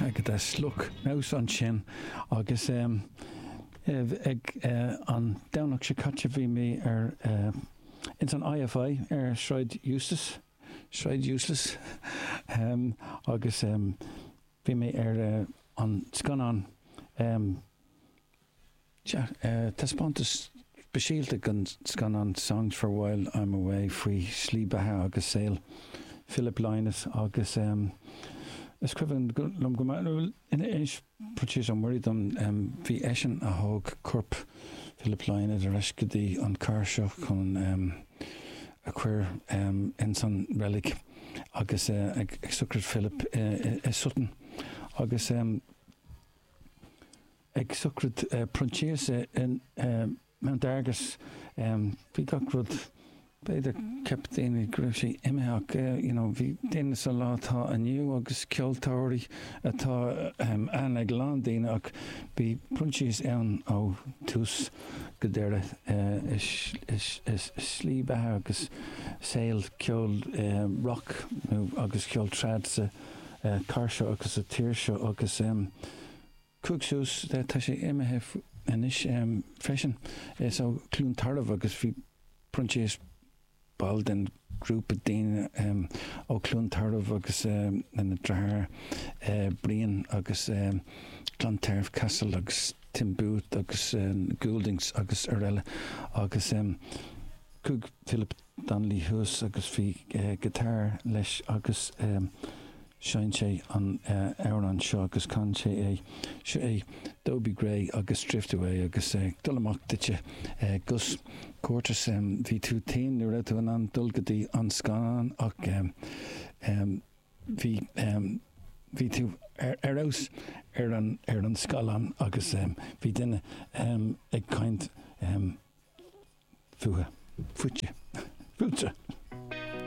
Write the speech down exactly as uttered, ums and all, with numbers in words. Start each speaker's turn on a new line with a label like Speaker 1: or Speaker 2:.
Speaker 1: Agatha Slook mouse ansin agus um, ag uh, an Domhnach seo caite bhí mé ar uh, ins an I F I ar Sráid Eustace, Sráid Useless, um, agus um, bhí mé ar uh, an scannán, um, uh, taispeántas speisialta den scannán Songs for While I'm Away faoi slí beatha agus saol Philip Lynott. Agus um, is cuimhin liom go inis Proinsias Ó Muirí dom, um, bhí eisean a thóg corp Philip Lynott ar ais go dtí an chathair seo chun um, a chur um, in san reilig agus uh, ag, ag sochraid Philip uh, i Sutton agus um, ag sochraid uh, Proinsias in uh, Mount Argus, um, bhí gach rud, b'fhéidir cheap daoine go raibh sé imithe. you know, bhí daoine sa lá atá inniu agus ceoltóirí atá um, an ag lán daoine, ach bhí Proinsias ann ó tús go deireadh uh, is, is, is, is slí beatha agus saol ceol uh, rock nó agus ceol trad sa uh, chathair seo agus sa tír seo agus um, chuaigh suas, tá sé imithe anois um, freisin. Is ó Cluain Tairbh agus bhí Proinsias ball den grúpa daoine um, ó Cluain Tairbh agus um, na deartháir uh, Brian agus um, Clontarf Castle agus Tim Booth agus um, Gouldings agus araile. Agus um, chuaigh Philip Donnelly thuas agus bhí uh, guitar leis agus um, sheinn sé an uh, amhrán seo agus chan sé é. Seo é Dobie Gray agus Drift Away. Agus uh, dul amach duitse, uh, Gus Curtis, um, bhí tú tinn, ní raibh tú in ann dul go dtí an scannán ach um, um, bhí um, bhí tú ar ar fheabhas ar an ar an scáileán agus um, bhí duine um, ag caint um, fútha fútsa fútsa.